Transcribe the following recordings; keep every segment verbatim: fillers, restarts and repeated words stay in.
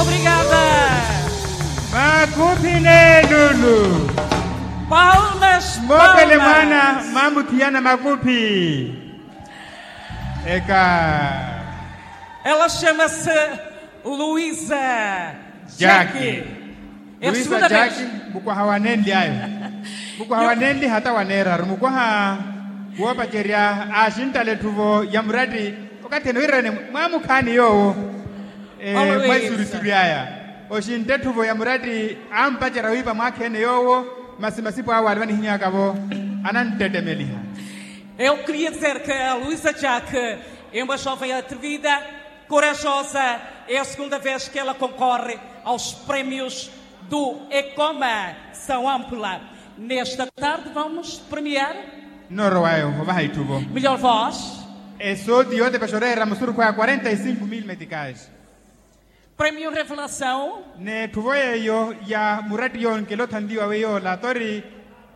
Obrigada. Makuphi n'elulu. Palmas. Moopele mwaana. Mamuthiyana makuphi. Eka. Ela chama-se luisa. Jaki. Luisa jaki. Mukwaha wa nenli ayo. Mukwaha wa nenli hata wa neeraru mukwaha. Woopacerya aaxinttala etthuvo ya muratti. Okathi ene wiirerene mwaamukhaani yoowo. Mwaisurisuri aya oxintta etthuvo ya muratti ampacerya wiipa mwaakheene yoowo. Masi masipu awo alivanihinyaka-vo ananttettemeliha. Eu queria dizer que a luisa jack é uma joven atrevida, corajosa. É a segunda vez que ela concorre aos prémios do ecoma são ampla. Nesta tarde vamos premiar. Nnoorowayo ovaha itthuvo. Melhor voz. Esooti yootepexa oreera musurukhu aya quarenta e cinco mil meticais. Premio revelação. N'etthuvo yeeyo ya muratti yoonkela othanliwa weiyo ola tori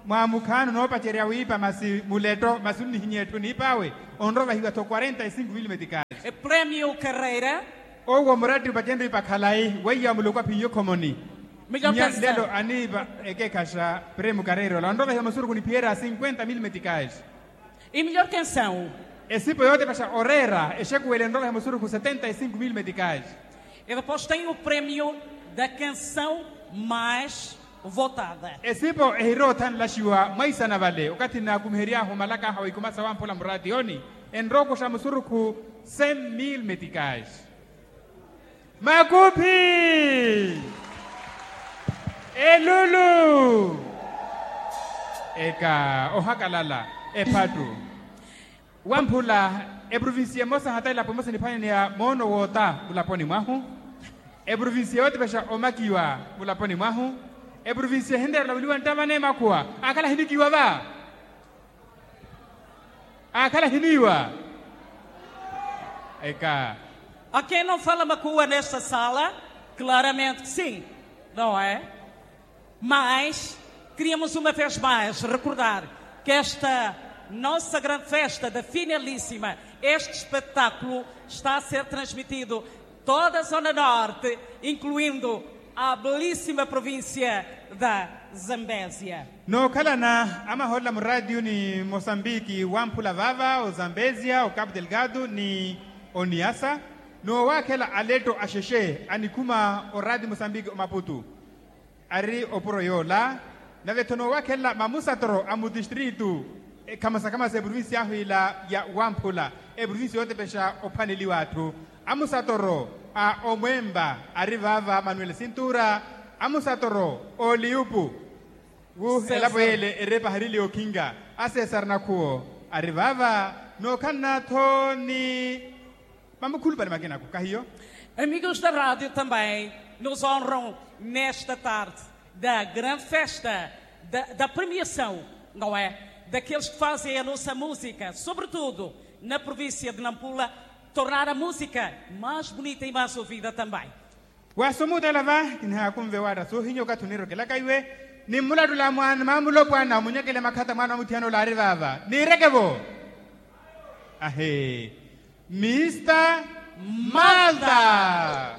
mwaamukhaani onoopacerya wiipa masi muletto masi onnihinya etthu niip'awe. Onrovahiwa-tho quarenta e cinco mil meticais. Premio carreira. Owo muratti opacenrye wiipa khalayi weiya wa muloko aphiiye okhomoni. Melhor canção. Lelo aniipa ekekhaxa premio carreira ola onrovahiwa musurukhu niphiyerya cinquenta mil meticais. E melhor canção. Esipo yootepexa oreera exekuwele enrovahiwa musurukhu setenta e cinco mil meticais. E depois tem o prémio da canção mais votada. Esipo ehiroothanlaxiwa mwaisana vale okathi nnaakumihery'ahu omalak'aha wa ikuma sawamphula muraatiyoni enrookuxa musurukhu cem mil meticais. Makuphi. Elulu. Eka ohakalala ephattu. Wamphula eprovincia emosa hata elapo emosa eniphwaneneya moono woota mulaponi mwahu. Eprovincia yootepexa omakiwa mulaponi mwahu. Eprovincia ehinreera olaveliwa nttamani emakhuwa aakhala ahinikiwa va. Aakhala ahiniiwa. Eka. A quem não fala makuwa nesta sala? Claramente que sim, não é? Mas queríamos uma vez mais recordar que esta nossa grande festa da finalíssima, este espetáculo está a ser transmitido toda a zona norte, incluindo a belíssima província da Zambésia. Nookhalana amahoolela muraatiyo ni mosambiki wamphula vaava ozambezia ocapu delgado ni oniasa. Noowaakhela aletto axexe anikhuma oraatiyo mosambiki omaputu ari opuro yoola. Nave-tho noowakhelela mamusatoro a mutistritu ekhamasakhamasa eprovincia ahu ila ya wamphula eprovincia yootepexa ophwaneliwa atthu. Amusatoro a omwempa ari vaava manuel sintura. Amusatoro a oliyupu wu elapo yeele erepa harili okhinka a cesar nakhuwo ari vaava. Nookhalana-tho ni mamukhulupale makinaku kahiyo. Amigos da rádio também nos honram nesta tarde da grande festa da premiação, não é? Daqueles que fazem a nossa música, sobretudo na província de Nampula, tornar a música mais bonita e mais ouvida também. Wasomuutela va kinihaakunve waatta soohinya okathi oniirokelaka iwe. Nimmulattula mwaana mamulopwana omunyekele makhata mwaana wa muthiyana ola ari vaava niireke-vo. Ahe. Mista malta.